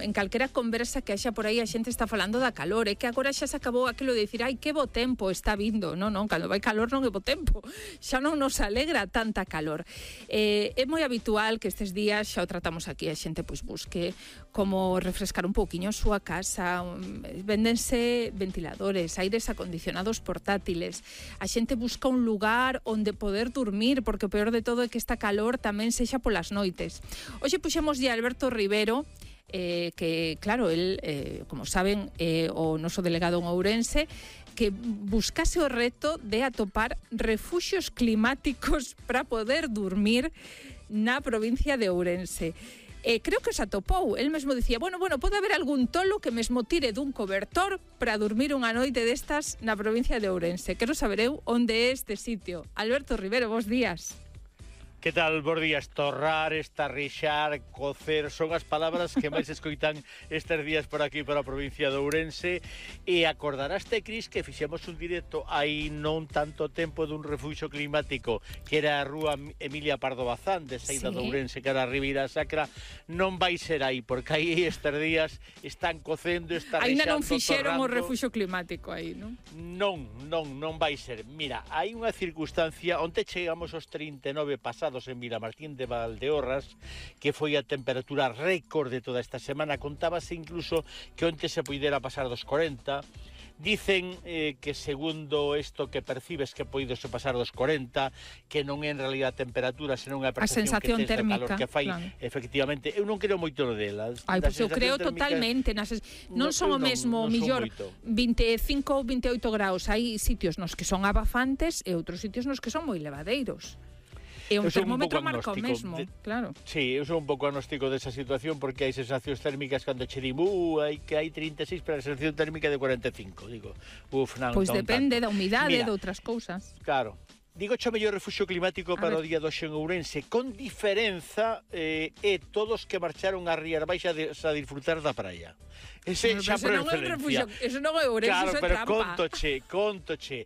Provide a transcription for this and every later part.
en calquera conversa que haxa por aí a xente está falando da calor, que agora xa se acabou aquilo de dicir, ai, que bo tempo está vindo. Non, cando vai calor non é bo tempo, xa non nos alegra tanta calor. É moi habitual que estes días, xa o tratamos aquí, a xente pois busque como refrescar un pouquiño a súa casa, véndense ventiladores, aires acondicionados portátiles, a xente busca un lugar onde poder dormir, porque o peor de todo é que esta calor tamén sexa polas noites. Hoxe puxemos de Alberto Rivero, que, claro, el, como saben, o noso delegado en Ourense, que buscase o reto de atopar refuxios climáticos para poder dormir na provincia de Ourense. Creo que os atopou. El mesmo dicía, bueno, pode haber algún tolo que mesmo tire dun cobertor para dormir unha noite destas na provincia de Ourense. Quero saber eu onde é este sitio. Alberto Rivero, bons días. Que tal, bons días? Torrar, estarrixar, cocer, son as palabras que máis escoitan estes días por aquí, por a provincia de Ourense. E acordaraste, Cris, que fixemos un directo hai non tanto tempo dun refuxio climático que era a rúa Emilia Pardo Bazán, de saída de Ourense, que era a Ribeira Sacra. Non vai ser aí, porque aí estes días están cocendo, estarrixando, ainda non fixeron torrando. O refuxio climático aí, non? Non vai ser. Mira, hai unha circunstancia, onte chegamos aos 39 pasados en Vilamartín de Valdeorras, que foi a temperatura récord de toda esta semana. Contábase incluso que onte se poidera pasar dos 40. Dicen que segundo isto que percibes que poidose pasar dos 40, que non é en realidad a temperatura, senón a percepción que tens do calor que fai, claro. Efectivamente, eu non creo moito no delas. Ai, pois eu creo totalmente. Non son o mesmo, millor 25 ou 28 graus. Hai sitios nos que son abafantes e outros sitios nos que son moi levadeiros. E un termómetro marca o mesmo, claro. Sí, eu son un pouco agnóstico desa situación, porque hai sensacións térmicas cando che digo, hai 36, pero a sensación térmica de 45, digo. Pois depende da humidade, de outras cousas. Claro. Digo cho mellor refuxio climático para o día de hoxe en Ourense, con diferenza todos que marcharon a Rías Baixas a disfrutar da praia. Ese xa por excelencia. Eso non é Ourense, claro, eso é pero trampa. Contoche.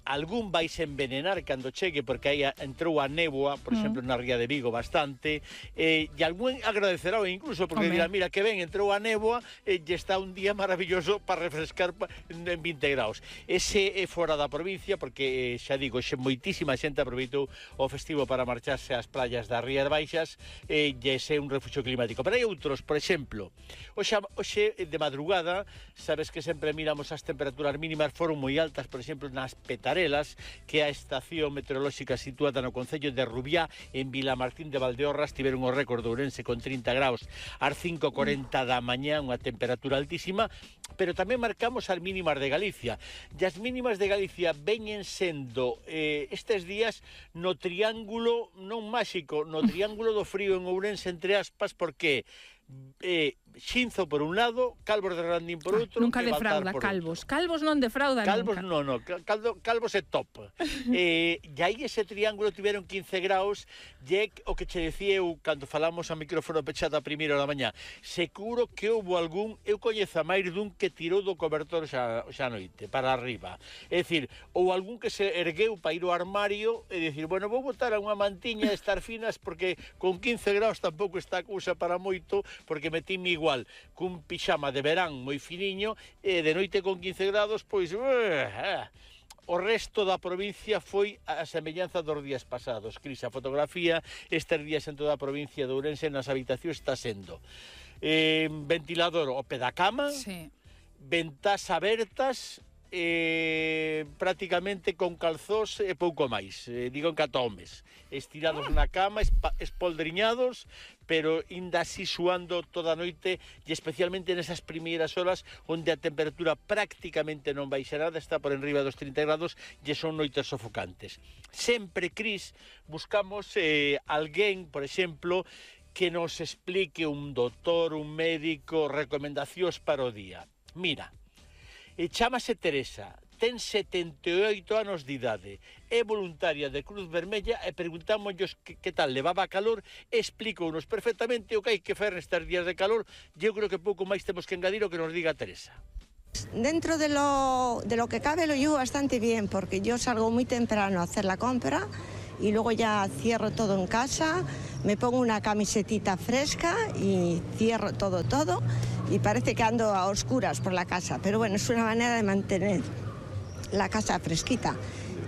Algún vais envenenar cando chegue, porque aí entrou a néboa, por exemplo, na Ría de Vigo bastante, e algún agradecerá incluso, porque dirá, mira, que ben, entrou a néboa e está un día maravilloso para refrescar en 20 graus. Ese é fora da provincia, porque xa digo, moitísima xente aproveitou o festivo para marcharse ás playas das Rías Baixas e ese é un refuxio climático. Pero hai outros, por exemplo, hoxe de madrugada, sabes que sempre miramos as temperaturas mínimas, foron moi altas, por exemplo, nas Petarelas, que é a estación meteorolóxica situada no concello de Rubiá, en Vilamartín de Valdeorras, tiveron o récord de Ourense con 30 graus ás 5:40 da mañá, unha temperatura altísima, pero tamén marcamos as mínimas de Galicia. E as mínimas de Galicia veñen sendo estes días no triángulo, non máxico, no triángulo do frío en Ourense, entre aspas, porque Xinzo por un lado, Calvos de Randín por outro, nunca defrauda Calvos. Calvos non defrauda Calvos nunca. Calvos é top. E aí ese triángulo tiveron 15 graus, e o que che decía eu cando falamos a micrófono pechado a primeira da mañá. Seguro que houve algún, eu coñezo a máis dun que tirou do cobertor xa noite, para arriba. É dicir, ou algún que se ergueu para ir ao armario e dicir, bueno, vou botar a unha mantiña e estar finas, porque con 15 graus tampouco está a cousa para moito, porque metíme igual cun pixama de verán moi finiño e de noite con 15 grados, pois o resto da provincia foi a semellanza dos días pasados. Cris, a fotografía estes días en toda a provincia de Ourense nas habitacións está sendo ventilador ao pé da cama, ventás abertas, prácticamente con calzós e pouco máis, digo en catomes, estirados na cama, espoldriñados, pero inda así suando toda a noite, e especialmente nesas primeiras horas onde a temperatura prácticamente non baixa nada, está por enriba dos 30 grados e son noites sofocantes. Sempre, Cris, buscamos alguén, por exemplo, que nos explique, un doutor, un médico, recomendacións para o día. Mira, chámase Teresa, ten 78 anos de idade, é voluntaria de Cruz Vermella e preguntámonos que tal levaba calor, explíconos perfectamente o que hai que fer nestes días de calor, e eu creo que pouco máis temos que engadir o que nos diga Teresa. Dentro de lo que cabe lo llevo bastante bien, porque yo salgo muy temprano a hacer la compra y luego ya cierro todo en casa, me pongo una camisetita fresca y cierro todo y parece que ando a oscuras por la casa, pero bueno, es una manera de mantener la casa fresquita.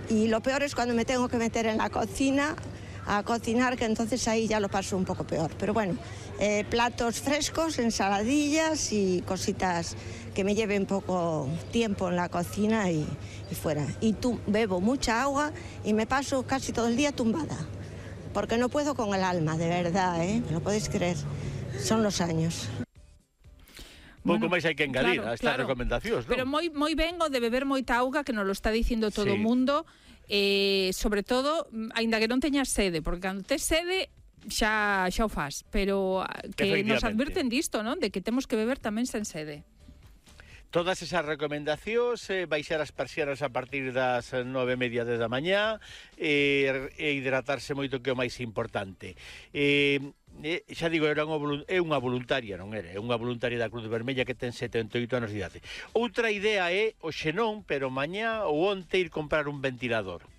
Y lo peor es cuando me tengo que meter en la cocina a cocinar, que entonces ahí ya lo paso un poco peor. Pero bueno, platos frescos, ensaladillas y cositas que me lleven poco tiempo en la cocina y fuera. Y bebo mucha agua y me paso casi todo el día tumbada, porque no puedo con el alma, de verdad, ¿me lo podéis creer? Son los años. Pouco máis hai que engadir a estas recomendacións, non? Pero moi ben o de beber moita auga, que nos lo está dicindo todo o mundo, sobre todo, aínda que non teñas sede, porque cando tes sede xa o faz, pero que nos advirten disto, non? De que temos que beber tamén sen sede. Todas esas recomendacións, baixar as persianas a partir das 9:30 da mañá, e hidratarse moito, que é o máis importante. Xa digo, é unha voluntaria, non era? É unha voluntaria da Cruz Vermella que ten 78 anos de idade. Outra idea é, hoxe non, pero mañá ou onte ir comprar un ventilador.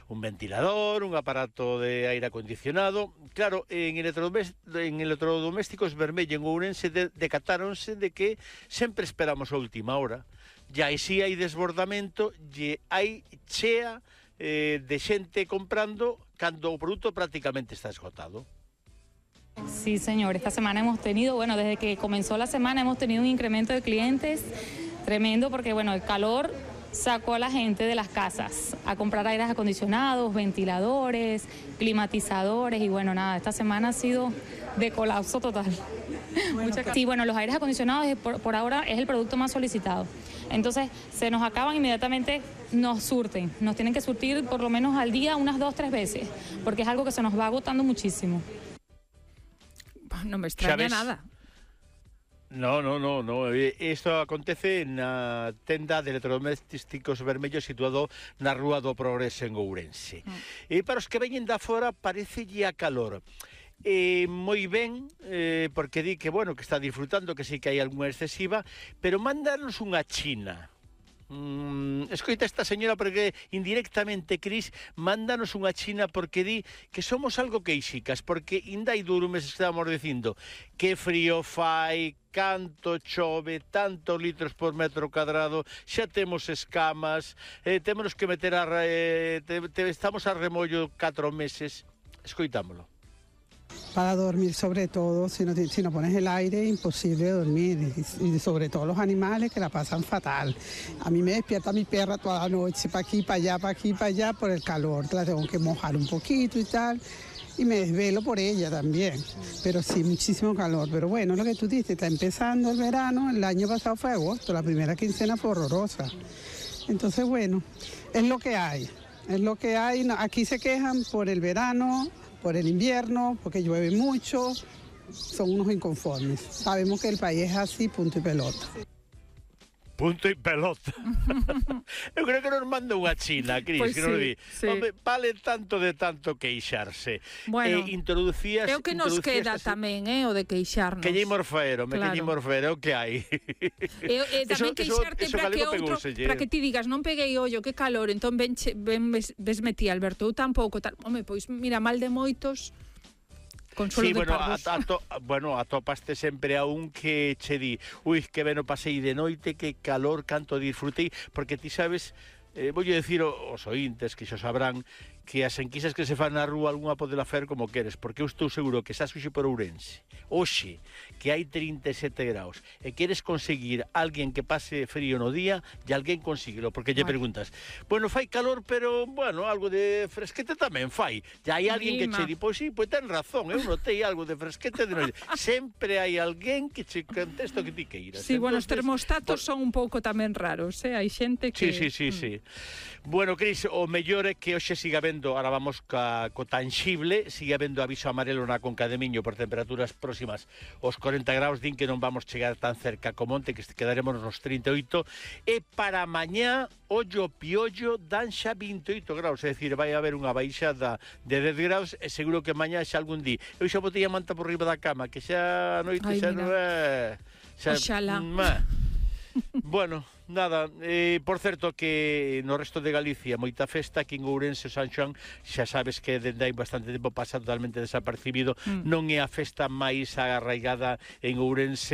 Un ventilador, un aparato de aire acondicionado. Claro, en electrodomésticos Vermella en Ourense decatáronse de que sempre esperamos a última hora. E aí si hai desbordamento, e hai chea de xente comprando cando o produto prácticamente está esgotado. Sí, señor. Esta semana hemos tenido, desde que comenzó la semana hemos tenido un incremento de clientes tremendo porque, el calor sacó a la gente de las casas a comprar aires acondicionados, ventiladores, climatizadores y esta semana ha sido de colapso total. Sí, los aires acondicionados por ahora es el producto más solicitado. Entonces se nos acaban inmediatamente, nos surten, nos tienen que surtir por lo menos al día unas 2-3 veces, porque es algo que se nos va agotando muchísimo. Non me extraña nada. No. Isto acontece na tenda de electrodomésticos Vermellos situado na Rúa do Progreso en Ourense. E para os que veñen da fora parecelle a calor. Moi ben, porque di que, que está disfrutando, que sí que hai algunha excesiva, pero mándanos unha china. Escoita esta señora, porque indirectamente, Cris, mándanos unha china, porque di que somos algo queixicas, porque inda hai 2 meses estábamos dicindo que frío fai, canto chove, tantos litros por metro cuadrado, xa temos escamas, temos que meter estamos a remollo 4 meses. Escoitámolo. Para dormir, sobre todo, si no pones el aire, imposible dormir, y sobre todo los animales, que la pasan fatal. A mí me despierta mi perra toda la noche, para aquí, para allá, por el calor, la tengo que mojar un poquito y tal, y me desvelo por ella también, pero sí, muchísimo calor. Pero bueno, lo que tú dices, está empezando el verano, el año pasado fue agosto, la primera quincena fue horrorosa. Entonces, es lo que hay, aquí se quejan por el verano, por el invierno, porque llueve mucho, son unos inconformes. Sabemos que el país es así, punto y pelota. Punto y pelota. Eu creo que nos manda unha china, Cris, pues que nos di. Sí. Hombre, vale tanto de tanto queixarse. Introducías... É o que nos queda tamén, o de queixarnos. Que lle morfero, o que hai. Tamén queixarte para que ti digas, non peguei ollo, que calor, entón vesme ti, Alberto, eu tampouco. Home, pois mira, mal de moitos... Sí, atopaste sempre a un que che di, que ben o pasei de noite, que calor, canto disfrutei, porque ti sabes, voulle dicir aos ointes que xo sabrán, que as enquisas que se fan na rúa algunha podela fer como queres, porque eu estou seguro que estás hoxe por Ourense, hoxe, que hai 37 graus, e queres conseguir alguén que pase frío no día, e alguén consíguelo, porque lle preguntas, fai calor, pero, algo de fresquete tamén fai, e hai alguén que che di, pois sí, pois ten razón, eu notei algo de fresquete de noite, sempre hai alguén que che contesta o que ti queiras. Sí, os termostatos son un pouco tamén raros, hai xente que... Sí. Bueno, Cris, o mellor é que hoxe siga vendo, ahora vamos co tangible, siga vendo aviso amarelo na Conca de Miño por temperaturas próximas aos 40 graus, din que non vamos chegar tan cerca como onte, que quedaremos nos 38, e para mañá, ollo piollo, dan xa 28 graus, é dicir, vai haber unha baixada de 10 graus, e seguro que mañá xa algún día. Eu xa botei a manta por riba da cama, que xa a noite xa non é... Oxalá. Bueno... nada, por certo que no resto de Galicia moita festa, aquí en Ourense o San Xoán xa sabes que dende hai bastante tempo pasa totalmente desapercibido, non é a festa máis arraigada en Ourense,